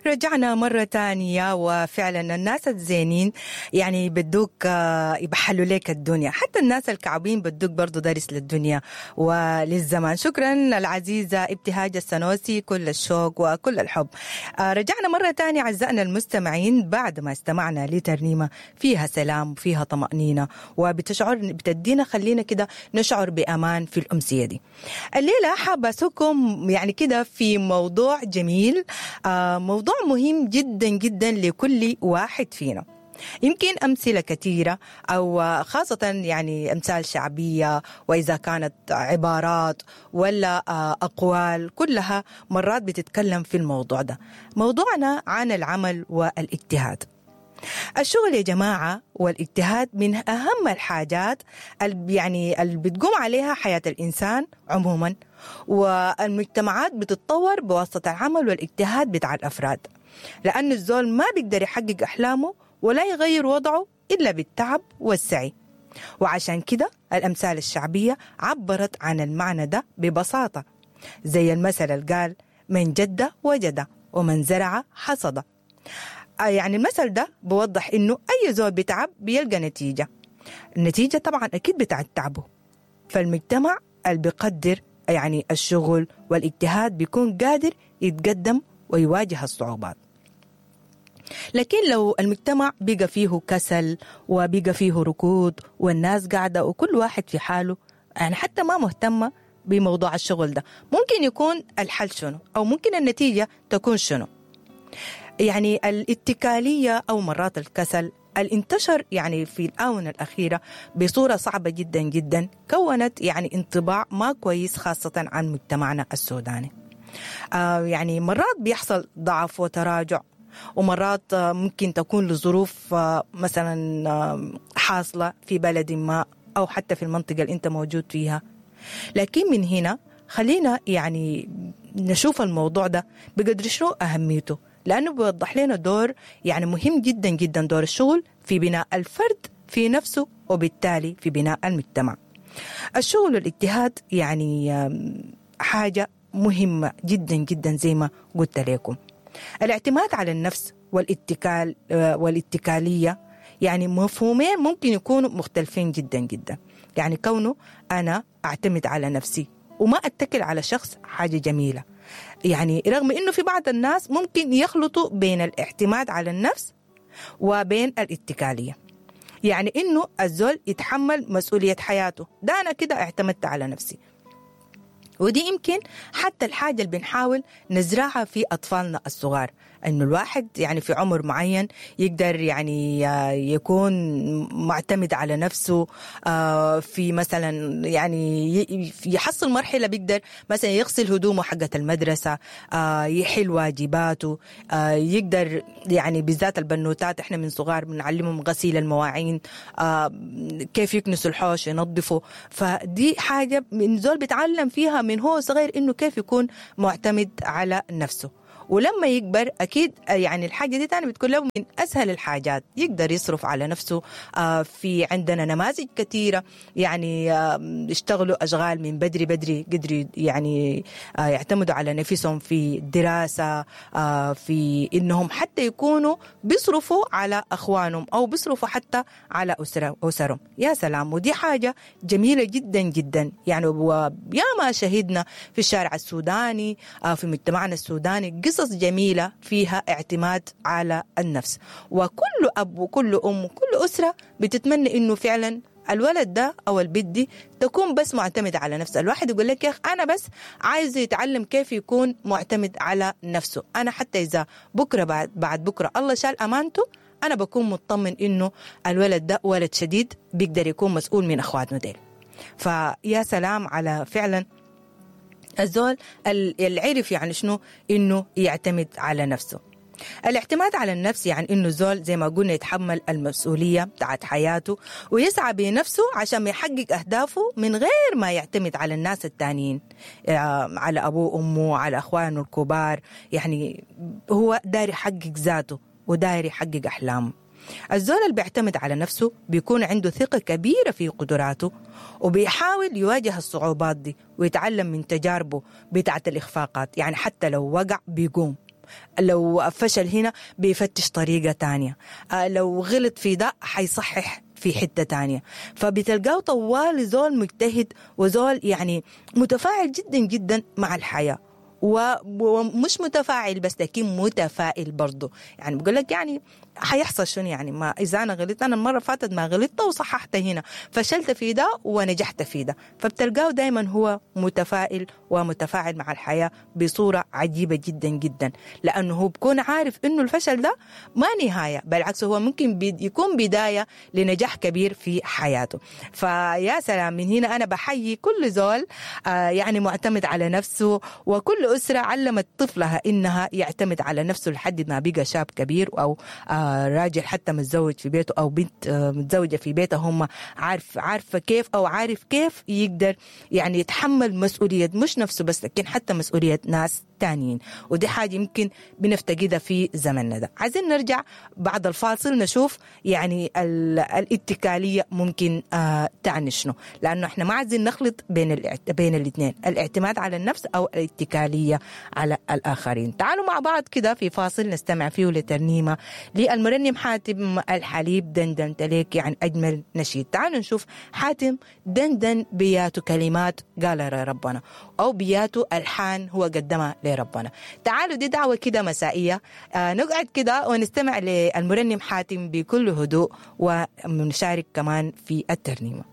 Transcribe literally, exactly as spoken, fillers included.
رجعنا مرة تانية، وفعلا الناس الزينين يعني بدوك يبحلوا لك الدنيا، حتى الناس الكعبين بدوك برضو درس للدنيا وللزمان. شكرا العزيزة ابتهاج السنوسي، كل الشوق وكل الحب. رجعنا مرة تانية أعزائنا المستمعين بعد ما استمعنا لترنيمة فيها سلام وفيها طمأنينة وبتشعر بتدينا خلينا كده نشعر بأمان في الأمسية دي. الليلة حابة أسوقكم يعني كده في موضوع جميل، موضوع مهم جدا جدا لكل واحد فينا. يمكن أمثلة كثيرة أو خاصة يعني أمثال شعبية، وإذا كانت عبارات ولا أقوال، كلها مرات بتتكلم في الموضوع ده. موضوعنا عن العمل والاجتهاد. الشغل يا جماعة والاجتهاد من أهم الحاجات اللي يعني اللي بتقوم عليها حياة الإنسان عموما، والمجتمعات بتتطور بواسطة العمل والاجتهاد بتاع الأفراد، لأن الزول ما بيقدر يحقق أحلامه ولا يغير وضعه إلا بالتعب والسعي. وعشان كده الأمثال الشعبية عبرت عن المعنى ده ببساطة، زي المثل اللي قال من جد وجد ومن زرع حصد. يعني المثل ده بوضح إنه أي زول بتعب بيلقى نتيجة، النتيجة طبعا أكيد بتاعت تعبه. فالمجتمع اللي بيقدر يعني الشغل والاجتهاد بيكون قادر يتقدم ويواجه الصعوبات. لكن لو المجتمع بقى فيه كسل وبقى فيه ركود والناس قاعدة وكل واحد في حاله، يعني حتى ما مهتمة بموضوع الشغل ده، ممكن يكون الحل شنو أو ممكن النتيجة تكون شنو؟ يعني الاتكالية أو مرات الكسل الانتشر يعني في الآونة الأخيرة بصورة صعبة جدا جدا، كونت يعني انطباع ما كويس خاصة عن مجتمعنا السوداني. آه يعني مرات بيحصل ضعف وتراجع، ومرات ممكن تكون لظروف مثلا حاصلة في بلد ما أو حتى في المنطقة اللي أنت موجود فيها. لكن من هنا خلينا يعني نشوف الموضوع ده بقدر شنو أهميته، لأنه بيوضح لنا دور يعني مهم جدا جدا، دور الشغل في بناء الفرد في نفسه وبالتالي في بناء المجتمع. الشغل والاجتهاد يعني حاجة مهمة جدا جدا زي ما قلت لكم. الاعتماد على النفس والاتكال والاتكالية يعني مفهومين ممكن يكونوا مختلفين جدا جدا. يعني كونه أنا أعتمد على نفسي وما أتكل على شخص حاجة جميلة، يعني رغم إنه في بعض الناس ممكن يخلطوا بين الاعتماد على النفس وبين الاتكالية. يعني إنه الزول يتحمل مسؤولية حياته، ده أنا كده اعتمدت على نفسي. ودي يمكن حتى الحاجة اللي بنحاول نزرعها في أطفالنا الصغار، إنه الواحد يعني في عمر معين يقدر يعني يكون معتمد على نفسه، في مثلا يعني يحصل مرحلة بيقدر مثلا يغسل هدومه حقة المدرسة، يحل واجباته، يقدر يعني بالذات البنوتات احنا من صغار بنعلمهم غسيل المواعين، كيف يكنسوا الحوش ينظفوا. فدي حاجة من زول بيتعلم فيها من هو صغير إنه كيف يكون معتمد على نفسه. ولما يكبر أكيد يعني الحاجة دي تاني بتكون له من أسهل الحاجات، يقدر يصرف على نفسه. في عندنا نماذج كثيرة يعني اشتغلوا أشغال من بدري بدري، قدروا يعني يعتمدوا على نفسهم في الدراسة، في إنهم حتى يكونوا بيصرفوا على أخوانهم أو بيصرفوا حتى على أسرهم. يا سلام، ودي حاجة جميلة جدا جدا. يعني وياما شهدنا في الشارع السوداني، في مجتمعنا السوداني، قصص جميلة فيها اعتماد على النفس. وكل أب وكل أم وكل أسرة بتتمنى إنه فعلا الولد ده أو البنت دي تكون بس معتمد على نفسه. الواحد يقول لك يا أخ أنا بس عايز يتعلم كيف يكون معتمد على نفسه، أنا حتى إذا بكرة بعد, بعد بكرة الله شال أمانته أنا بكون مطمن إنه الولد ده ولد شديد بيقدر يكون مسؤول من أخواتنا ديل. فيا سلام على فعلا الزول اللي عرف يعني شنو إنه يعتمد على نفسه. الاعتماد على النفس يعني إنه الزول زي ما قلنا يتحمل المسؤولية بتاعت حياته ويسعى بنفسه عشان يحقق أهدافه من غير ما يعتمد على الناس التانيين، على أبوه وأمه، على أخوانه الكبار. يعني هو داير يحقق ذاته وداير يحقق أحلامه. الزول اللي بيعتمد على نفسه بيكون عنده ثقة كبيرة في قدراته وبيحاول يواجه الصعوبات دي ويتعلم من تجاربه بتاعت الإخفاقات. يعني حتى لو وقع بيقوم. لو فشل هنا بيفتش طريقة تانية، آه لو غلط في ده حيصحح في حتة تانية. فبتلقاه طوال زول مجتهد وزول يعني متفاعل جدا جدا مع الحياة، ومش متفاعل بس لكن متفائل برضه. يعني بقول لك يعني حيحصل شنو يعني، ما إذا أنا غلطت، أنا المرة فاتت ما غلطت وصححت هنا، فشلت في ده ونجحت في ده. فبتلقاه دايما هو متفائل ومتفاعل مع الحياة بصورة عجيبة جدا جدا، لأنه هو بكون عارف إنه الفشل ده ما نهاية، بالعكس هو ممكن يكون بداية لنجاح كبير في حياته. فيا سلام، من هنا أنا بحيي كل زول آه يعني معتمد على نفسه، وكل أسرة علمت طفلها إنها يعتمد على نفسه لحد ما بقى شاب كبير أو آه راجل حتى متزوج في بيته أو بنت آه متزوجة في بيته، هم عارف عارفة كيف أو عارف كيف يقدر يعني يتحمل مسؤولية مش نفسه بس لكن حتى مسؤولية ناس تانيين. ودي حاجة يمكن بنفتقدها في زمننا ده. عايزين نرجع بعد الفاصل نشوف يعني الاتكالية ممكن آه تعني شنو، لأنه احنا ما عايزين نخلط بين الاعت... بين الاثنين، الاعتماد على النفس أو الاتكالية على الآخرين. تعالوا مع بعض كده في فاصل نستمع فيه لترنيمة للمرنم حاتم الحليب، دندن تليك، يعني أجمل نشيد. تعالوا نشوف حاتم دندن بياتو كلمات قال ربنا، أو بياتو ألحان هو قدمها لربنا. تعالوا دي دعوة كده مسائية، آه نقعد كده ونستمع للمرنم حاتم بكل هدوء ونشارك كمان في الترنيمة.